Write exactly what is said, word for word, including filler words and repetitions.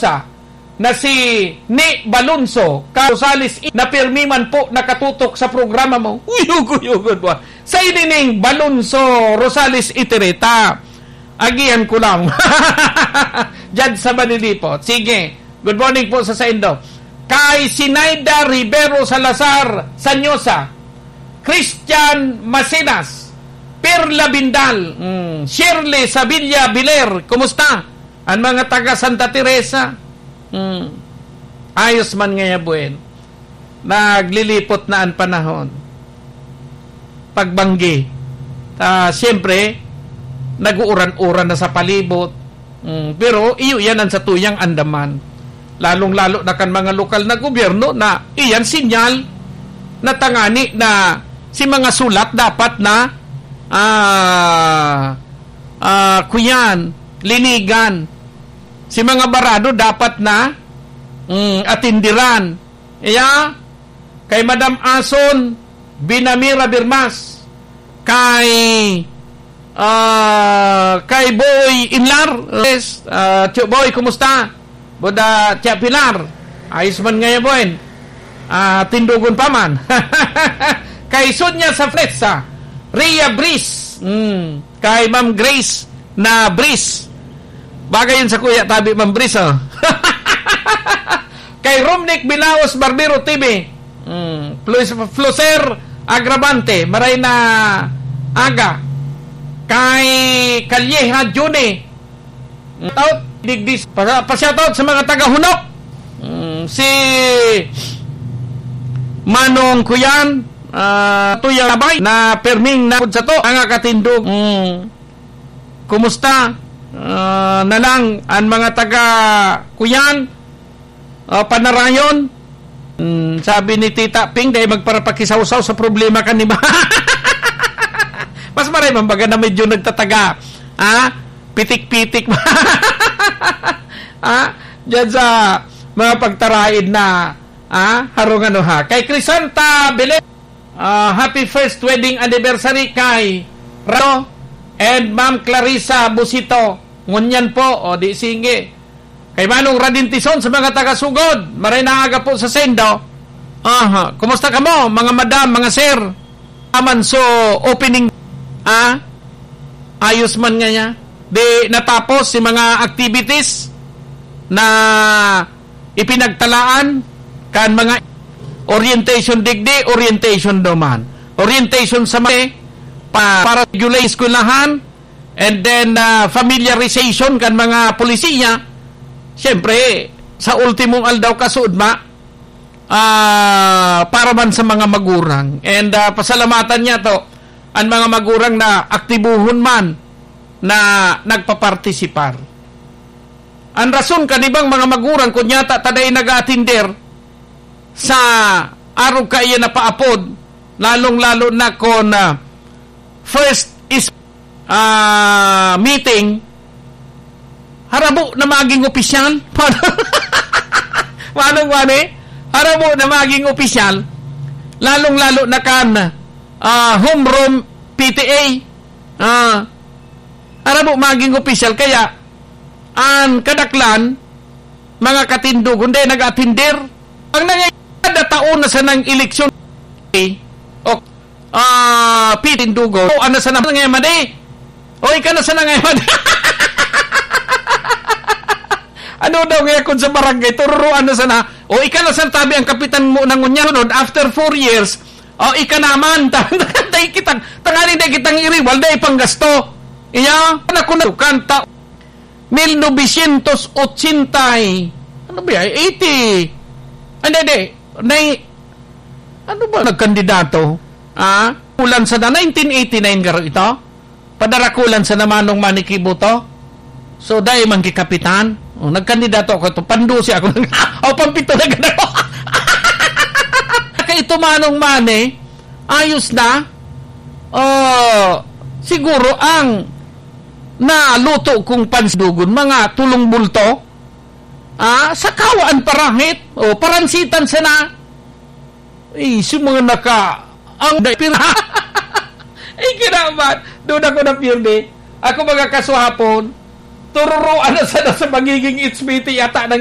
sa, na si Ni Balonso, ka Rosales, na pirmi man po nakatutok sa programa mo. Uyog-uyogon mo. Sa ini ning Balonso Rosales Itereta. Agihan ko lang. Diyan sa Manilipot. Sige. Good morning po sa saindo. Kay Sinaida Rivero Salazar Sanyosa, Christian Macenas, Perla Bindal, mm, Shirley Sabilla Biler, kumusta? An mga taga Santa Teresa, mm, ayos man ngaya buen. Naglilipot na an panahon. Pagbanggi. Ah, siyempre, nag-uuran-uran na sa palibot. Mm, pero iyo yan ang satuyang andaman. Lalong-lalo na kan mga lokal na gobyerno na iyan sinyal na tangani na si mga sulat dapat na, ah, ah, kuyan, linigan. Si mga barado dapat na, mm, atindiran. Iya, kay Madam Ason Binamira Birmas, kay, ah, kay Boy Inlar, yes, ah, Tio Boy, kumusta? Boda, Tia Pilar, ayos man ngaya, Boy. Ah, tindugon pa man. Kay Sonia Safletsa, Ria Bris, mm, kay Ma'am Grace na Bris. Bagay yun sa kuya, tabi, Ma'am Bris, oh. Kay Romnick Bilaos Barbero T V. Mm. Flus-, Fluser Agravante, maray na aga. Kay Calleja Juni. Shout out, digdis, pa, pa shout out sa mga taga Hunok. Mm, si Manong Kuyan, ah, Tuyang Abay, na perming na sa to, ang akatindog. Mm. Kumusta? Ah, na lang, ang mga taga Kuyan, ah, Panarayon. Hmm, sabi ni Tita Ping, "Dai magparapakisawsaw sa problema kan iba." Mas maray man baga na medyo nagtataga. Ha? Pitik-pitik. Ha? Diyan sa mga pagtaraid na, ha? Harong ano ha? Kay Crisanta Belen, ah, happy first wedding anniversary kay Rado and Ma'am Clarissa Busito. Ngunyan po, o di sige. Kay Manong Radin Tison sa mga taga-Sugod, maray na aga po sa saindo. Aha, kumusta kamo, mga madam, mga sir? Aman so opening, ah, ayos man ngaya. Di natapos si mga activities na ipinagtalaan kan mga orientation digdi, orientation duman. Orientation sa mga pa, para sa eskwelahan, and then, ah, familiarization kan mga polisiya. Siyempre, sa ultimong aldaw, kasuodma, ah, para man sa mga magurang. And, ah, pasalamatan niya to, ang mga magurang na aktibuhon man na nagpapartisipar. Ang rason kan ibang mga magurang, kun yata ta dai nag-aatender sa arog kaiyan na paapod, lalong-lalo na kun, ah, first is, ah, meeting, harabo na maging opisyal. Manong Mane, harabo na maging opisyal, lalong-lalo na kan, ah, homeroom P T A. Ah, harabo maging opisyal, kaya an kadaklan, mga katindogon, dai nag-atinder. Ang nangay-, kada taon na sanang eleksyon, eh, o, ah, pitindugo, o, ano sana ngay madi? O, ika na sana ngay madi? Ano daw ngay kun sa barangay, tururuan na sana? O, ika na sana tabi ang kapitan mo nang unya, sunod, after four years, o, ika naman, ta-, dai kitang, tanganing dai kitang iriwal, dai panggasto. Iya, na kun kanta, mil novecientos ochenta y, ano ba yan? Eighty. Hindi, hindi. Nay-, ano ba nagkandidato? Ah? Kulan sa na, nineteen eighty-nine garo ito? Padarakulan sa na Manong Manny Kibuto? So, dai man ki kapitan. O, nagkandidato ako. Ito, pandusi ako. O, pampito na ganda ko. Kay ito Manong Manny, ayos na. O, siguro ang naluto kong pansidugon, mga tulong bulto. Ah, sa kawaan parahit. O, paransitan sana. Eh, sa mga naka-, ang da-, pira-, eh, kinaman. Doon ako napirdi. Ako mga kasuhapon, tururuan na sana sa magiging H P T yata ng